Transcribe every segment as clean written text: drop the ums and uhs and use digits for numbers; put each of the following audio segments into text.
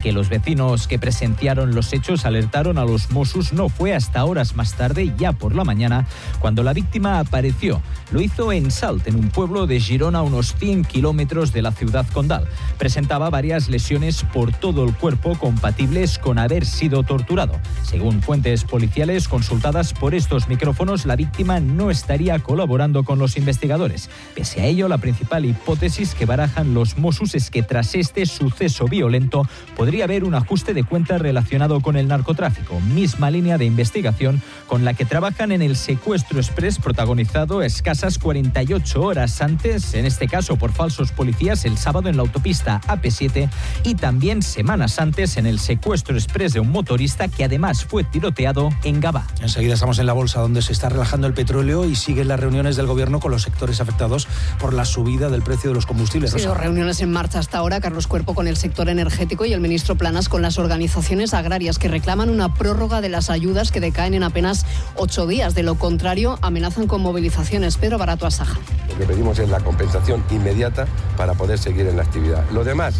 Que los vecinos que presenciaron los hechos alertaron a los Mossos no fue hasta horas más tarde, ya por la mañana, cuando la víctima apareció. Lo hizo en Salt, en un pueblo de Girona a unos 100 kilómetros de la ciudad condal. Presentaba varias lesiones por todo el cuerpo compatibles con haber sido torturado. Según fuentes policiales consultadas por estos micrófonos, la víctima no estaría colaborando con los investigadores. Pese a ello, la principal hipótesis que barajan los Mossos es que tras este suceso violento podría haber un ajuste de cuentas relacionado con el narcotráfico, misma línea de investigación con la que trabajan en el secuestro express protagonizado escasas 48 horas antes, en este caso por falsos policías, el sábado en la autopista AP7 y también semanas antes en el secuestro express de un motorista que además fue tiroteado en Gavà. Enseguida estamos en la bolsa donde se está relajando el petróleo y siguen las reuniones del gobierno con los sectores afectados por la subida del precio de los combustibles. Sí, reuniones en marcha hasta ahora, Carlos Cuerpo con el sector energético y el ministro Planas con las organizaciones agrarias que reclaman una prórroga de las ayudas que decaen en apenas 8 días. De lo contrario, amenazan con movilizaciones. Pedro Barato Asaja. Lo que pedimos es la compensación inmediata para poder seguir en la actividad. Lo demás,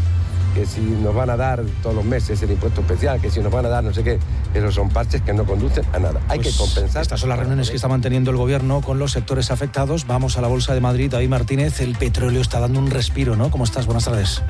que si nos van a dar todos los meses el impuesto especial, que si nos van a dar no sé qué, esos son parches que no conducen a nada. Hay que compensar. Estas son las reuniones que está manteniendo el gobierno con los sectores afectados. Vamos a la Bolsa de Madrid. David Martínez, el petróleo está dando un respiro, ¿no? ¿Cómo estás? Buenas tardes.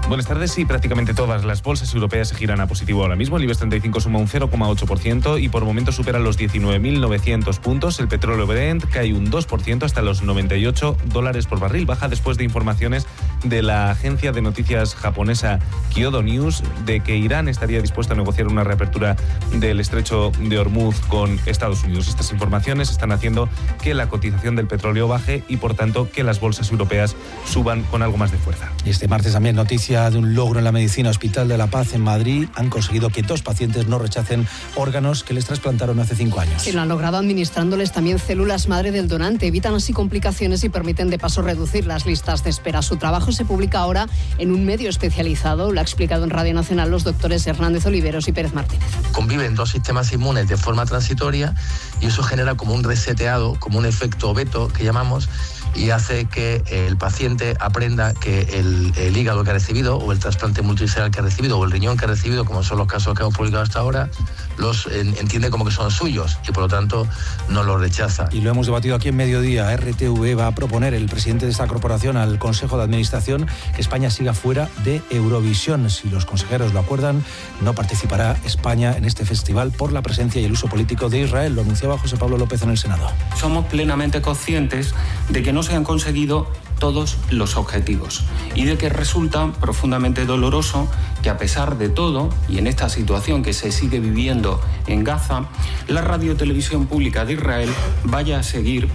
Buenas tardes. Sí, prácticamente todas las bolsas europeas se giran a positivo ahora mismo. El IBEX 35 suma un 0,8% y por momento supera los 19.900 puntos. El petróleo Brent cae un 2% hasta los $98 por barril. Baja después de informaciones de la agencia de noticias japonesa Kyodo News de que Irán estaría dispuesto a negociar una reapertura del estrecho de Hormuz con Estados Unidos. Estas informaciones están haciendo que la cotización del petróleo baje y, por tanto, que las bolsas europeas suban con algo más de fuerza. Y este martes también noticia de un logro en la medicina. Hospital de la Paz en Madrid han conseguido que 2 pacientes no rechacen órganos que les trasplantaron hace 5 años. Sí, lo han logrado administrándoles también células madre del donante. Evitan así complicaciones y permiten de paso reducir las listas de espera. Su trabajo se publica ahora en un medio especializado. Lo ha explicado en Radio Nacional los doctores Hernández Oliveros y Pérez Martínez. Conviven 2 sistemas inmunes de forma transitoria y eso genera como un reseteado, como un efecto veto que llamamos, y hace que el paciente aprenda que el hígado que ha recibido o el trasplante multiscelular que ha recibido o el riñón que ha recibido, como son los casos que hemos publicado hasta ahora, los entiende como que son suyos y por lo tanto no los rechaza. Y lo hemos debatido aquí en Mediodía. RTV va a proponer, el presidente de esta corporación, al Consejo de Administración que España siga fuera de Eurovisión. Si los consejeros lo acuerdan, no participará España en este festival por la presencia y el uso político de Israel. Lo anunciaba José Pablo López en el Senado. Somos plenamente conscientes de que no se han conseguido todos los objetivos y de que resulta profundamente doloroso que, a pesar de todo, y en esta situación que se sigue viviendo en Gaza, la radiotelevisión pública de Israel vaya a seguir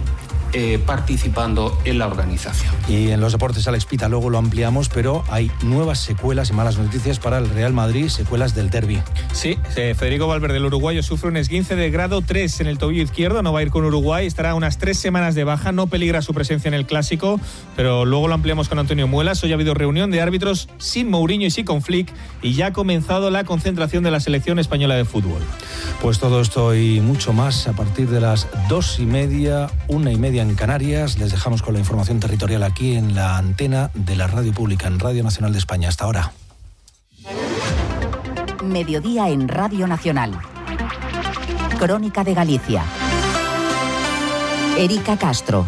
participando en la organización. Y en los deportes, Alex Pita, luego lo ampliamos, pero hay nuevas secuelas y malas noticias para el Real Madrid, secuelas del derbi. Sí, Federico Valverde, el uruguayo, sufre un esguince de grado 3 en el tobillo izquierdo, no va a ir con Uruguay, estará unas 3 semanas de baja, no peligra su presencia en el Clásico, pero luego lo ampliamos con Antonio Muelas. Hoy ha habido reunión de árbitros sin Mourinho y sin con Flick y ya ha comenzado la concentración de la selección española de fútbol. Pues todo esto y mucho más a partir de las 2:30, 1:30 en Canarias. Les dejamos con la información territorial aquí en la antena de la Radio Pública, en Radio Nacional de España. Hasta ahora. Mediodía en Radio Nacional. Crónica de Galicia. Erika Castro.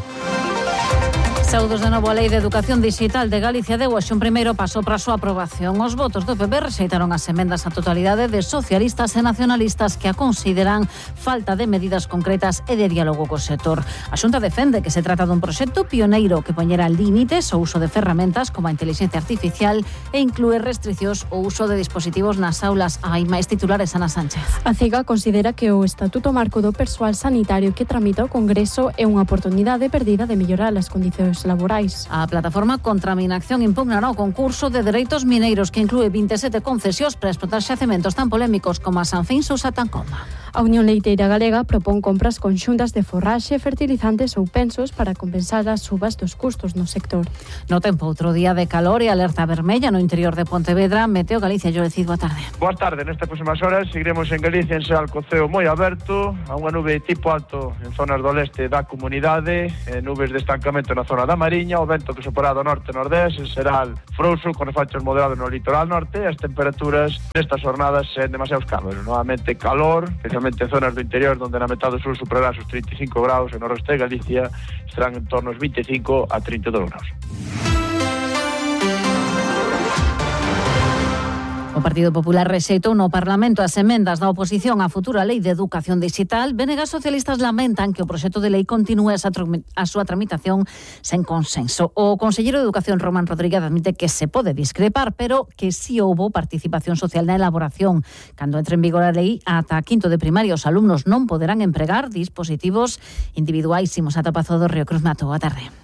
Saúdos de novo a Lei de Educación Digital de Galicia deu hoxe un primeiro paso para a súa aprobación. Os votos do PP rexeitaron as emendas á totalidade de socialistas e nacionalistas que a consideran falta de medidas concretas e de diálogo co sector. A Xunta defende que se trata dun proxecto pioneiro que poñera límites ao uso de ferramentas como a inteligencia artificial e inclúe restriccións ao uso de dispositivos nas aulas. Hai máis titulares, Ana Sánchez. A CIGA considera que o Estatuto Marco do Persoal Sanitario que tramita o Congreso é unha oportunidade perdida de mellorar as condicións laborais. A plataforma contra a minacción impugnará o concurso de dereitos mineiros que inclúe 27 concesións para explotar xacementos tan polémicos como a Sanfinsus a Tancoma. A Unión Leiteira Galega propón compras conxuntas de forraxe, fertilizantes ou pensos para compensar as subas dos custos no sector. No tempo, outro día de calor e alerta vermella no interior de Pontevedra. Meteo Galicia, Llorecid, boa tarde. Boa tarde, nestas próximas horas seguiremos en Galicia en Sal co ceo moi aberto, a unha nube tipo alto en zonas do leste da comunidade, nubes de estancamento na zona da Mariña, o vento que soporá do norte-nordés, será frouxo con efachos moderados no litoral norte, as temperaturas nestas jornadas sen demasiados cambios, novamente calor, especialmente en zonas do interior onde na metade sur superará os 35 graus e no resto de Galicia estarán en torno aos 25 a 32 graus. O Partido Popular rexeitou no Parlamento as emendas da oposición á futura Lei de Educación Digital. Venegas socialistas lamentan que o proxecto de lei continúe a súa tramitación sen consenso. O conselleiro de Educación, Román Rodríguez, admite que se pode discrepar, pero que si houbo participación social na elaboración. Cando entre en vigor a lei, ata quinto de primaria os alumnos non poderán empregar dispositivos individuais. Imos ata Pazo do Río Cruz. Mato, boa tarde.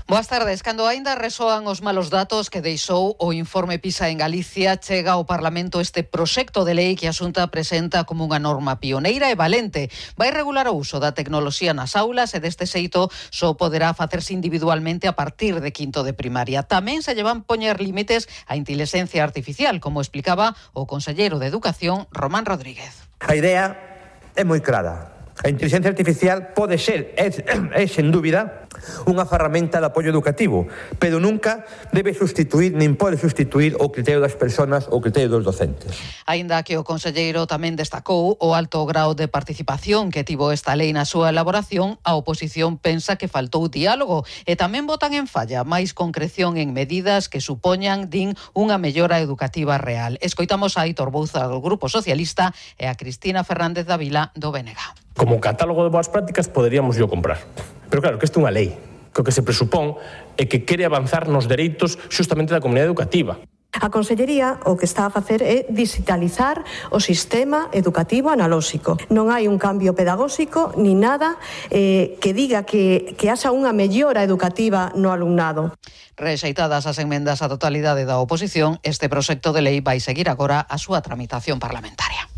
Boas tardes. Cando aínda resoan os malos datos que deixou o informe PISA en Galicia, chega ao Parlamento este proxecto de lei que a Xunta presenta como unha norma pioneira e valente. Vai regular o uso da tecnoloxía nas aulas e deste xeito só poderá facerse individualmente a partir de quinto de primaria. Tamén se lle van poñer límites á inteligencia artificial, como explicaba o conselleiro de Educación, Román Rodríguez. A idea é moi clara. A inteligencia artificial pode ser, é sen dúbida, unha ferramenta de apoio educativo, pero nunca debe sustituir, nin pode sustituir o criterio das persoas ou o criterio dos docentes. Aínda que o conselleiro tamén destacou o alto grao de participación que tivo esta lei na súa elaboración, a oposición pensa que faltou diálogo e tamén botan en falla máis concreción en medidas que supoñan, din, unha mellora educativa real. Escoitamos a Aitor Bouza do Grupo Socialista e a Cristina Fernández Dávila do BNG. Como catálogo de boas prácticas poderíamos yo comprar. Pero claro, que isto é unha lei, que o que se presupón é que quere avanzar nos dereitos xustamente da comunidade educativa. A Consellería o que está a facer é digitalizar o sistema educativo analóxico. Non hai un cambio pedagóxico ni nada que diga que haxa unha mellora educativa no alumnado. Rexeitadas as enmendas á totalidade da oposición, este proxecto de lei vai seguir agora a súa tramitación parlamentaria.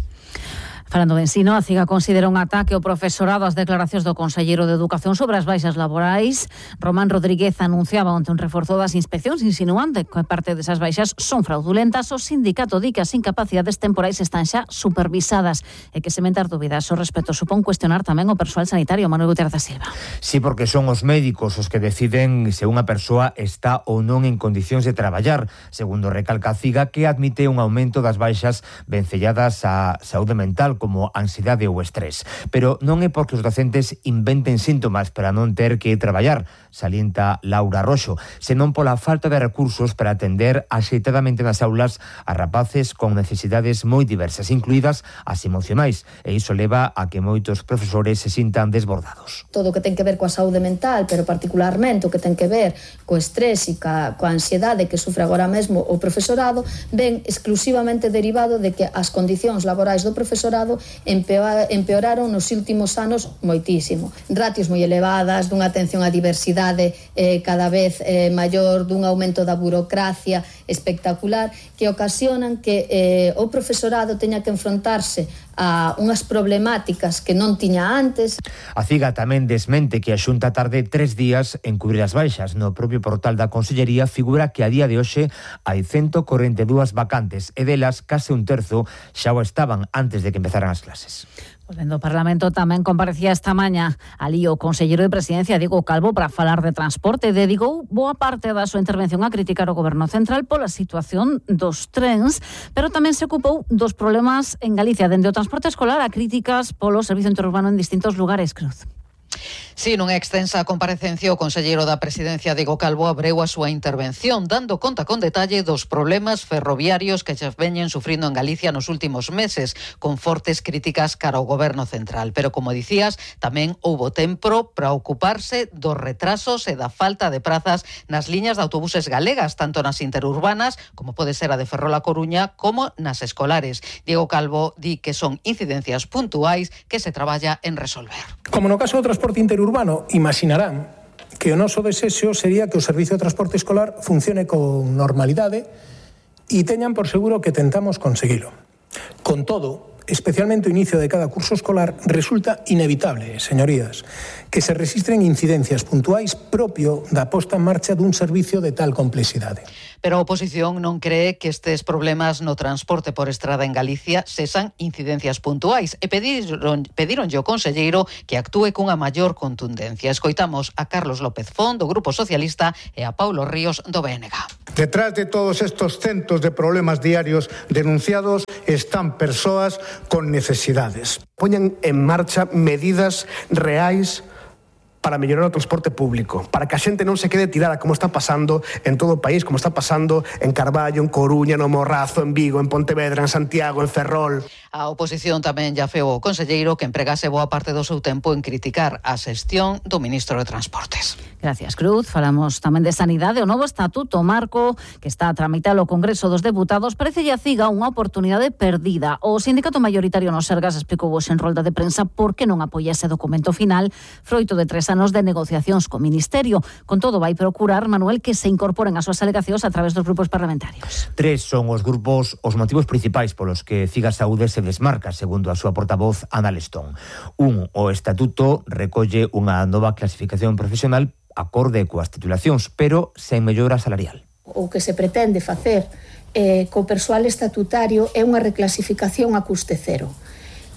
Falando de ensino, a CIGA considera un ataque ao profesorado as declaracións do conselleiro de Educación sobre as baixas laborais. Román Rodríguez anunciaba onte un reforzo das inspeccións, insinuante que parte desas baixas son fraudulentas. O sindicato di que as incapacidades temporais están xa supervisadas e que sementar dúbidas ao respecto supón cuestionar tamén o persoal sanitario. Manuel Gutiérrez da Silva. Sí, porque son os médicos os que deciden se unha persoa está ou non en condicións de traballar, segundo recalca a CIGA, que admite un aumento das baixas vencelladas á saúde mental, como ansiedade ou estrés. Pero non é porque os docentes inventen síntomas para non ter que traballar, salienta Laura Roxo, senón pola falta de recursos para atender axeitadamente nas aulas a rapaces con necesidades moi diversas, incluídas as emocionais, e iso leva a que moitos profesores se sintan desbordados. Todo o que ten que ver coa saúde mental, pero particularmente o que ten que ver co estrés e coa ansiedade que sufre agora mesmo o profesorado, ven exclusivamente derivado de que as condicións laborais do profesorado empeoraron nos últimos anos moitísimo. Ratios moi elevadas, dunha atención á diversidade cada vez maior, dun aumento da burocracia espectacular, que ocasionan que o profesorado teña que enfrontarse a unhas problemáticas que non tiña antes. A CIGA tamén desmente que a Xunta tarde 3 días en cubrir as baixas. No propio portal da Consellería figura que a día de hoxe hai 142 vacantes e delas case un terzo xa o estaban antes de que empezaran as clases. Volvendo ao Parlamento, tamén comparecía esta mañá alí o conselleiro de Presidencia, Diego Calvo, para falar de transporte. Dedicou boa parte da súa intervención a criticar o Goberno Central pola situación dos trens, pero tamén se ocupou dos problemas en Galicia, dende o transporte escolar a críticas polo servizo interurbano en distintos lugares. Cruz. Sí, nunha extensa comparecencia, o conselleiro da Presidencia, Diego Calvo, abreu a súa intervención, dando conta con detalle dos problemas ferroviarios que se veñen sufrindo en Galicia nos últimos meses, con fortes críticas cara ao Goberno Central. Pero, como dicías, tamén houbo tempo para ocuparse dos retrasos e da falta de prazas nas liñas de autobuses galegas, tanto nas interurbanas, como pode ser a de Ferrol a Coruña, como nas escolares. Diego Calvo di que son incidencias puntuais que se traballa en resolver. Como no caso do transporte interurbano, imaginarán que o noso desexo sería que o servizo de transporte escolar funcione con normalidade e teñan por seguro que tentamos conseguilo. Con todo, especialmente o inicio de cada curso escolar, resulta inevitable, señorías, que se rexistren incidencias puntuais propio da posta en marcha dun servicio de tal complexidade. Pero a oposición non cree que estes problemas no transporte por estrada en Galicia sesan incidencias puntuais e pedironlle ao conselleiro que actúe cunha maior contundencia. Escoitamos a Carlos López Font, do Grupo Socialista, e a Paulo Ríos, do BNG. Detrás de todos estos centos de problemas diarios denunciados están persoas con necesidades. Poñan en marcha medidas reais para mellorar o transporte público, para que a xente non se quede tirada como está pasando en todo o país, como está pasando en Carballo, en Coruña, no Morrazo, en Vigo, en Pontevedra, en Santiago, en Ferrol. A oposición tamén ya feo o conselleiro que empregase boa parte do seu tempo en criticar a xestión do ministro de Transportes. Gracias, Cruz. Falamos tamén de sanidade. O novo estatuto marco que está a tramitar o Congreso dos Deputados parece a CIGA unha oportunidade perdida. O sindicato mayoritario no Sergas explicou hoxe en rolda de prensa por que non apoia ese documento final, froito de 3 anos de negociacións co Ministerio. Con todo, vai procurar, Manuel, que se incorporen as súas alegacións a través dos grupos parlamentarios. 3 son os motivos principais polos que CIGA Saúde se desmarca, segundo a súa portavoz Ana Lestón. O estatuto recolle unha nova clasificación profesional acorde coas titulacións, pero sen mellora salarial. O que se pretende facer co persoal estatutario é unha reclasificación a custe cero.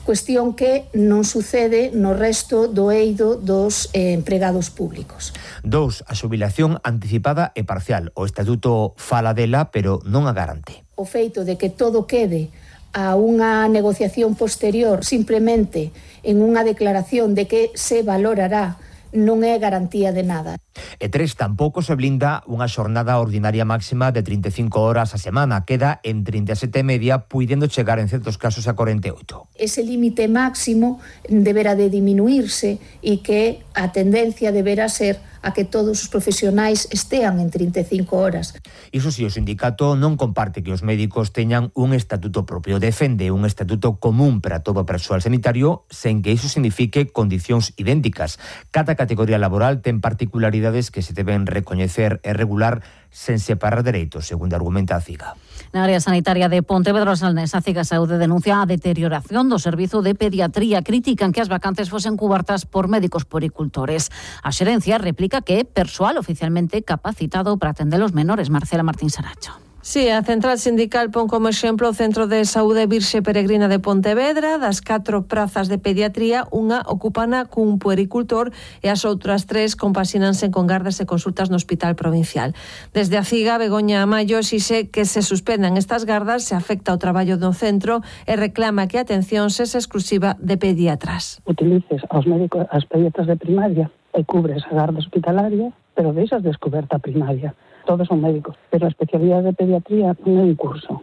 Cuestión que non sucede no resto do eido dos empregados públicos. 2. A xubilación anticipada e parcial. O estatuto fala dela, pero non a garante. O feito de que todo quede a unha negociación posterior simplemente en unha declaración de que se valorará non é garantía de nada. E 3, tampouco se blinda unha xornada ordinaria máxima de 35 horas a semana. Queda en 37,5, puidendo chegar en certos casos a 48. Ese límite máximo deberá de diminuirse e que a tendencia deberá ser a que todos os profesionais estean en 35 horas. Iso si, o sindicato non comparte que os médicos teñan un estatuto propio. Defende un estatuto común para todo o persoal sanitario sen que iso signifique condicións idénticas. Cada categoría laboral ten particularidades que se deben recoñecer e regular sen separar dereitos, segundo argumenta a CIGA. Na área sanitaria de Pontevedra Salnés, a CIGA Saúde denuncia a deterioración do servizo de pediatría. Critican que as vacantes fosen cubertas por médicos puericultores. A xerencia replica que é persoal oficialmente capacitado para atender os menores. Marcela Martín Saracho. Sí, a central sindical pon como exemplo o Centro de Saúde Virxe Peregrina de Pontevedra. Das 4 prazas de pediatría, unha ocupana cun puericultor e as outras 3 compasínanse con gardas e consultas no Hospital Provincial. Desde a CIGA, Begoña Amayo exixe que se suspendan estas gardas, se afecta o traballo do centro e reclama que a atención sexa exclusiva de pediatras. Utilices aos médicos, as pediatras de primaria e cubres a garda hospitalaria, pero deixas descoberta a primaria. Todos son médicos, pero a especialidade de pediatría non é un curso.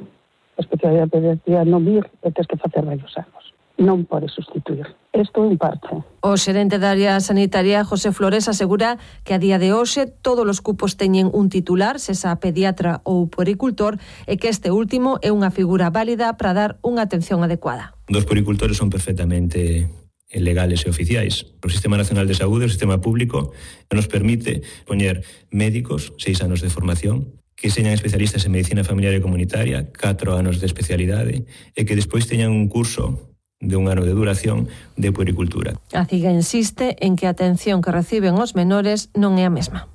A especialidade de pediatría non vir e tens que facer varios anos. Non podes sustituir. Isto é un parche. O xerente da área sanitaria, José Flores, asegura que a día de hoxe todos os cupos teñen un titular, sesa pediatra ou puericultor, e que este último é unha figura válida para dar unha atención adecuada. Dos puericultores son perfectamente legales e oficiais. O Sistema Nacional de Saúde, o sistema público, nos permite poñer médicos, 6 anos de formación, que señan especialistas en medicina familiar e comunitaria, 4 anos de especialidade, e que despois teñan un curso de 1 ano de duración de puericultura. A CIGA insiste en que a atención que reciben os menores non é a mesma.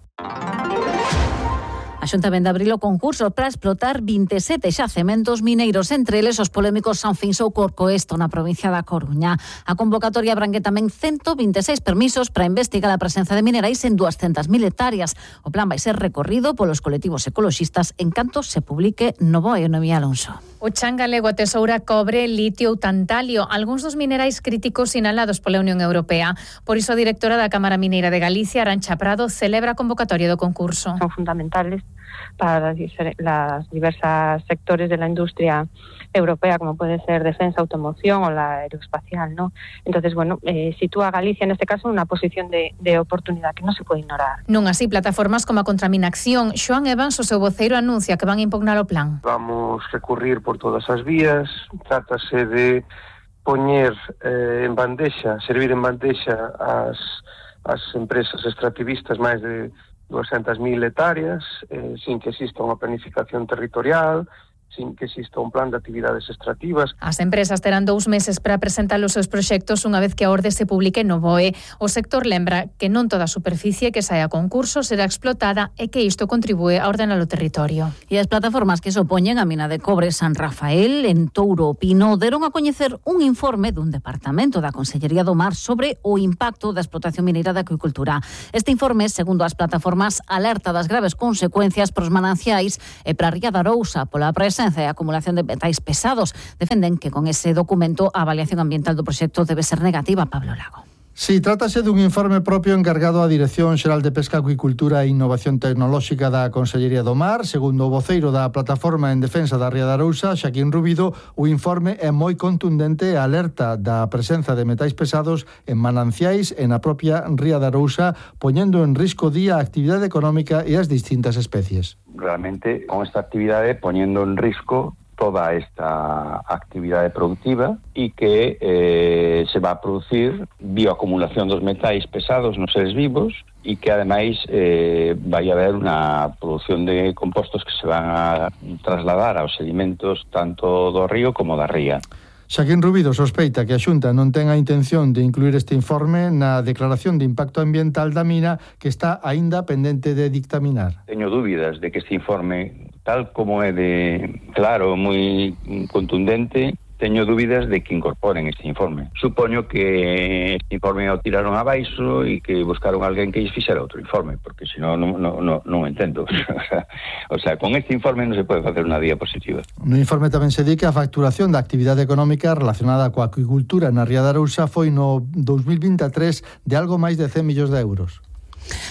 A Xunta vende abril o concurso para explotar 27 xacementos mineiros, entre eles os polémicos Sanfins ou Corcoesto na provincia da Coruña. A convocatoria abrangue tamén 126 permisos para investigar a presenza de minerais en 200.000 hectáreas. O plan vai ser recorrido polos colectivos ecoloxistas en canto se publique no BOE. Noemí Alonso. O chan galego atesoura cobre, litio ou tantalio, algúns dos minerais críticos sinalados pola Unión Europea. Por iso a directora da Cámara Mineira de Galicia, Arantxa Prado, celebra a convocatoria do concurso. Son fundamentales para las diversas sectores de la industria europea, como puede ser defensa, automoción o la aeroespacial, ¿no? Entonces, bueno, sitúa a Galicia en este caso en una posición de oportunidad que no se puede ignorar. Non así plataformas como a Contraminación. Xoan Evans, o seu voceiro, anuncia que van a impugnar o plan. Vamos recurrir por todas as vías. Trátase de poñer en bandexa, servir en bandexa as empresas extractivistas máis de 200.000 hectáreas, sin que exista unha planificación territorial, sin que exista un plan de actividades extractivas. As empresas terán 2 meses para presentar os seus proxectos unha vez que a orde se publique no BOE. O sector lembra que non toda a superficie que saia a concurso será explotada e que isto contribúe a ordenar o territorio. E as plataformas que se opoñen a mina de cobre San Rafael en Touro o Pino deron a coñecer un informe dun departamento da Consellería do Mar sobre o impacto da explotación mineira da acuicultura. Este informe, segundo as plataformas, alerta das graves consecuencias pros mananciais e para a ría da Arousa pola presenza e acumulación de metais pesados. Defenden que con ese documento a avaliación ambiental do proxecto debe ser negativa. Pablo Lago. Sí, trátase dun informe propio encargado á Dirección Xeral de Pesca, Acuicultura e Innovación Tecnolóxica da Consellería do Mar. Segundo o voceiro da Plataforma en Defensa da Ría da Arousa, Xaquín Rubido, o informe é moi contundente e alerta da presenza de metais pesados en mananciais e na propia Ría da Arousa, poñendo en risco día a actividade económica e as distintas especies. Realmente, con esta actividade, poñendo en risco toda esta actividade productiva e que se va a producir bioacumulación dos metais pesados nos seres vivos e que ademais vai haber unha produción de compostos que se van a trasladar aos sedimentos tanto do río como da ría. Xaquín Rubido sospeita que a Xunta non ten a intención de incluir este informe na declaración de impacto ambiental da mina que está aínda pendente de dictaminar. Teño dúbidas de que este informe, tal como é de claro, moi contundente, teño dúbidas de que incorporen este informe. Supoño que este informe o tiraron abaixo e que buscaron alguén que lles fixera outro informe, porque senón non entendo. O sea, con este informe non se pode facer unha diapositiva. No informe tamén se di que a facturación da actividade económica relacionada coa acuicultura na Ría da Arousa foi no 2023 de algo máis de 100 millóns de euros.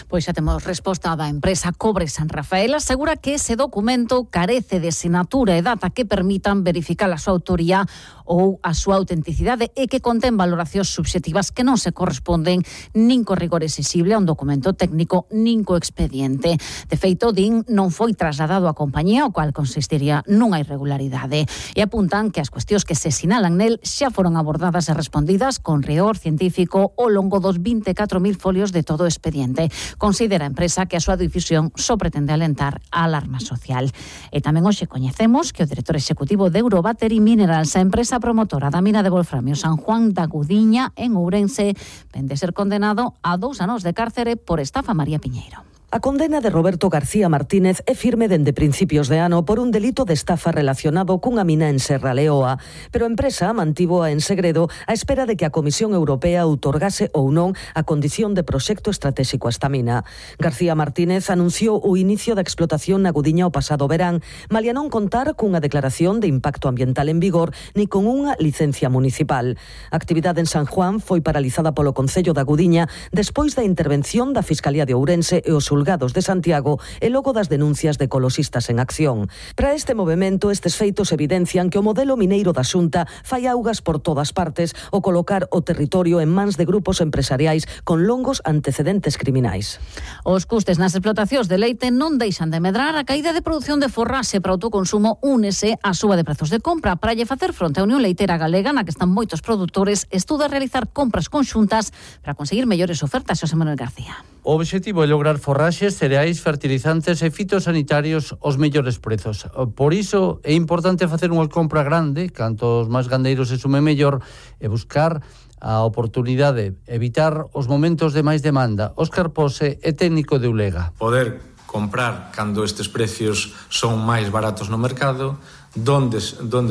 Pois xa temos resposta da empresa Cobre San Rafael. Asegura que ese documento carece de sinatura e data que permitan verificar a súa autoría ou a súa autenticidade e que contén valoracións subxectivas que non se corresponden nin co rigor exixible a un documento técnico nin co expediente. De feito, din, non foi trasladado á compañía, o cual consistiría nunha irregularidade. E apuntan que as cuestións que se sinalan nel xa foron abordadas e respondidas con rigor científico ao longo dos 24.000 folios de todo o expediente. Considera a empresa que a súa difusión só pretende alentar a alarma social. E tamén hoxe coñecemos que o director executivo de Eurobattery Minerals, a empresa promotora da mina de wolframio San Juan da Gudiña en Ourense, vende ser condenado a 2 anos de cárcere por estafa. María Piñeiro. A condena de Roberto García Martínez é firme dende principios de ano por un delito de estafa relacionado cunha mina en Serra Leoa, pero a empresa mantivoa en segredo a espera de que a Comisión Europea outorgase ou non a condición de proxecto estratégico a esta mina. García Martínez anunciou o inicio da explotación na Gudiña o pasado verán, malia non contar cunha declaración de impacto ambiental en vigor ni con unha licencia municipal. A actividade en San Juan foi paralizada polo Concello da Gudiña despois da intervención da Fiscalía de Ourense e os xulgados de Santiago e logo das denuncias de ecoloxistas en acción. Para este movemento, estes feitos evidencian que o modelo mineiro da Xunta fai augas por todas partes ao colocar o territorio en mans de grupos empresariais con longos antecedentes criminais. Os custes nas explotacións de leite non deixan de medrar. A caída de produción de forraxe para autoconsumo únese á suba de prezos de compra. Para lle facer fronte á Unión Leiteira Galega, na que están moitos produtores, estuda realizar compras conxuntas para conseguir mellores ofertas. Xosé Manuel García. O obxectivo é lograr forraxes, cereais, fertilizantes e fitosanitarios aos mellores prezos. Por iso é importante facer unha compra grande, cantos máis gandeiros se sume mellor, e buscar a oportunidade, evitar os momentos de máis demanda. Óscar Pose é técnico de Ulega. Poder comprar cando estes precios son máis baratos no mercado, donde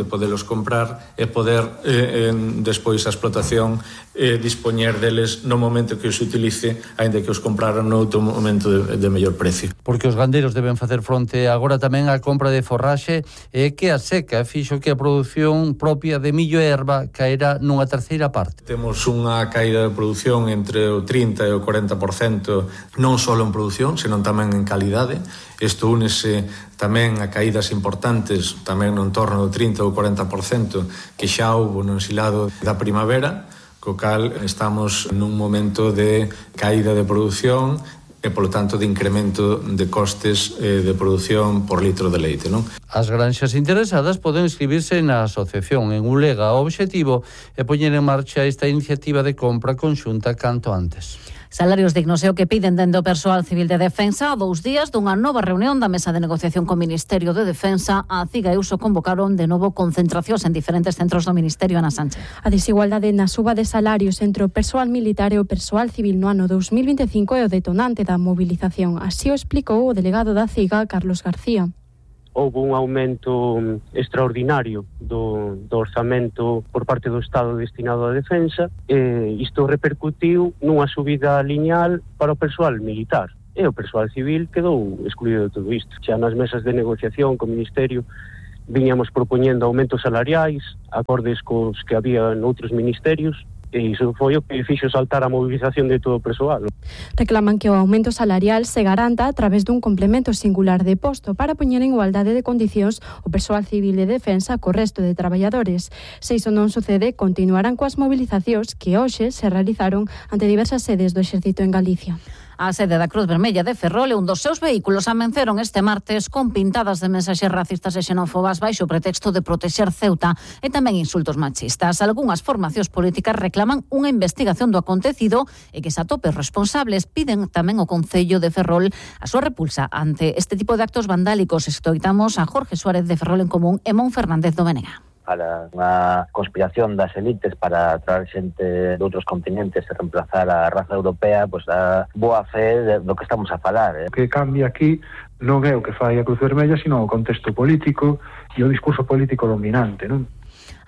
podelos comprar e poder despois a explotación dispoñer deles no momento que os utilice, aínda que os compraran no outro momento de mellor precio. Porque os gandeiros deben facer fronte agora tamén á compra de forraxe e que a seca fixo que a produción propia de millo e erva caera nunha terceira parte. Temos unha caída de produción entre o 30 e o 40%, non só en produción, senón tamén en calidade. Isto únese tamén a caídas importantes, tamén no entorno do 30 ou 40% que xa houve no ensilado da primavera, co cal estamos nun momento de caída de produción e, polo tanto, de incremento de costes de produción por litro de leite, non? As granxas interesadas poden inscribirse na asociación en Ulega. O obxectivo é poñer en marcha esta iniciativa de compra conxunta canto antes. Salarios dignos é o que piden dende o persoal civil de defensa a 2 días dunha nova reunión da mesa de negociación co Ministerio de Defensa. A CIGA e USO convocaron de novo concentracións en diferentes centros do Ministerio. Ana Sánchez. A desigualdade na suba de salarios entre o persoal militar e o persoal civil no ano 2025 é o detonante da mobilización. Así o explicou o delegado da CIGA, Carlos García. Houve un aumento extraordinario do orzamento por parte do Estado destinado á defensa e isto repercutiu nunha subida lineal para o persoal militar e o persoal civil quedou excluído de todo isto. Xa nas mesas de negociación co Ministerio viñamos propoñendo aumentos salariais acordes cos que había noutros ministerios e iso foi o que fixo saltar a movilización de todo o persoal. Reclaman que o aumento salarial se garanta a través dun complemento singular de posto para poñer en igualdade de condicións o persoal civil de defensa co resto de traballadores. Se iso non sucede, continuarán coas mobilizacións que hoxe se realizaron ante diversas sedes do Exército en Galicia. A sede da Cruz Vermella de Ferrol e un dos seus vehículos amenceron este martes con pintadas de mensaxes racistas e xenófobas baixo o pretexto de protexer Ceuta e tamén insultos machistas. Algúnas formacións políticas reclaman unha investigación do acontecido e que se atope responsables. Piden tamén ao Concello de Ferrol a súa repulsa ante este tipo de actos vandálicos. Escoitamos a Jorge Suárez de Ferrol en Común e Mon Fernández do Benega. Para unha conspiración das elites para traer xente de outros continentes e reemplazar a raza europea, pois a boa fe do que estamos a falar. O que cambia aquí non é o que fai a Cruz Vermella, sino o contexto político e o discurso político dominante, non?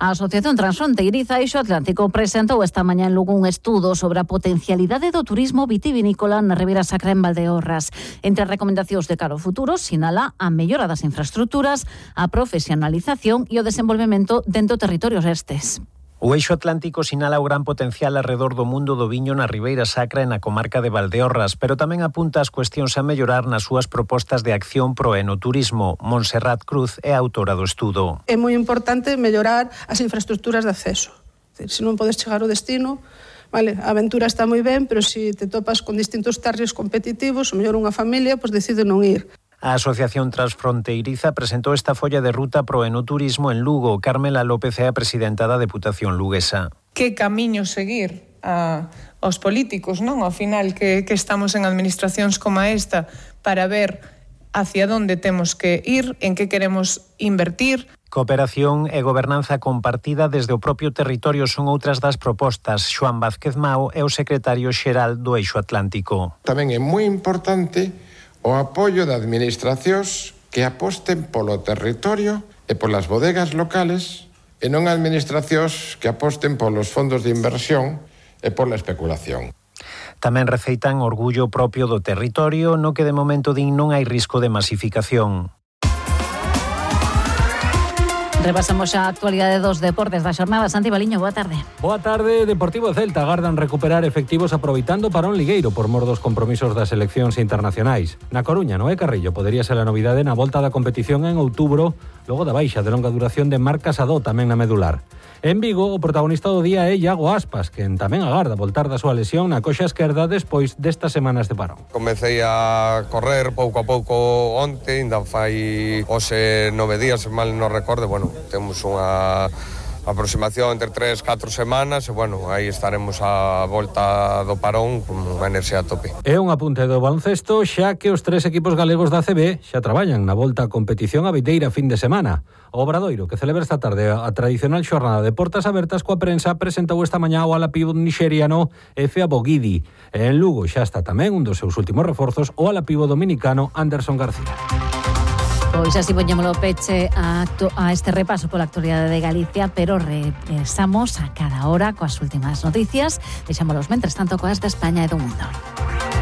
A Asociación Transfronteiriza Eixo Atlántico presentou esta mañá en Lugo un estudo sobre a potencialidade do turismo vitivinícola na Ribeira Sacra en Valdeorras. Entre as recomendacións de cara ao futuro, sinala a mellora das infraestruturas, a profesionalización e o desenvolvemento dentro do territorio restes. O Eixo Atlántico sinala o gran potencial alrededor do mundo do viño na Ribeira Sacra e na comarca de Valdeorras, pero tamén apunta as cuestións a mellorar nas súas propostas de acción pro enoturismo. Montserrat Cruz é a autora do estudo. É moi importante mellorar as infraestructuras de acceso. Se non podes chegar ao destino, vale, a aventura está moi ben, pero se te topas con distintos tarrios competitivos, o mellor unha familia, pois decide non ir. A Asociación Transfronteiriza presentou esta folla de ruta pro enoturismo en Lugo. Carmela López é a presidenta da Deputación luguesa. Que camiño seguir aos políticos, non? Ao final que estamos en administracións como esta para ver hacia onde temos que ir, en que queremos invertir. Cooperación e gobernanza compartida desde o propio territorio son outras das propostas. Xoán Vázquez Mao é o secretario xeral do Eixo Atlántico. Tamén é moi importante o apoio de administracións que aposten polo territorio e polas bodegas locales e non administracións que aposten polos fondos de inversión e pola especulación. Tamén receitan orgullo propio do territorio no que de momento din non hai risco de masificación. Repasamos a actualidade dos deportes da xornada. Santi Baliño, boa tarde. Boa tarde. Deportivo e Celta agardan recuperar efectivos aproveitando parón ligueiro por mor dos compromisos das seleccións internacionais. Na Coruña, Noé Carrillo podería ser a novidade na volta da competición en outubro, logo da baixa de longa duración de Marc Casado tamén na medular. En Vigo, o protagonista do día é Iago Aspas, quen tamén agarda voltar da súa lesión na coxa esquerda despois destas semanas de parón. Comecei a correr pouco a pouco onte, ainda fai hoxe 9 días, se mal non recordo, bueno, temos unha aproximación entre 3-4 semanas e, bueno, aí estaremos a volta do parón con unha enerxía a tope. É un apunte do baloncesto, xa que os 3 equipos galegos da ACB xa traballan na volta a competición a vindeira fin de semana. O Obradoiro, que celebra esta tarde a tradicional xornada de portas abertas coa prensa, presentou esta mañá o ala pívot nixeriano Efe Abogidi. En Lugo xa está tamén un dos seus últimos reforzos, o ala pívot dominicano Anderson García. Pois así poñémolo peche a este repaso pola actualidade de Galicia, pero repasamos a cada hora coas últimas noticias. Deixámolos mentres tanto coas de España e do mundo.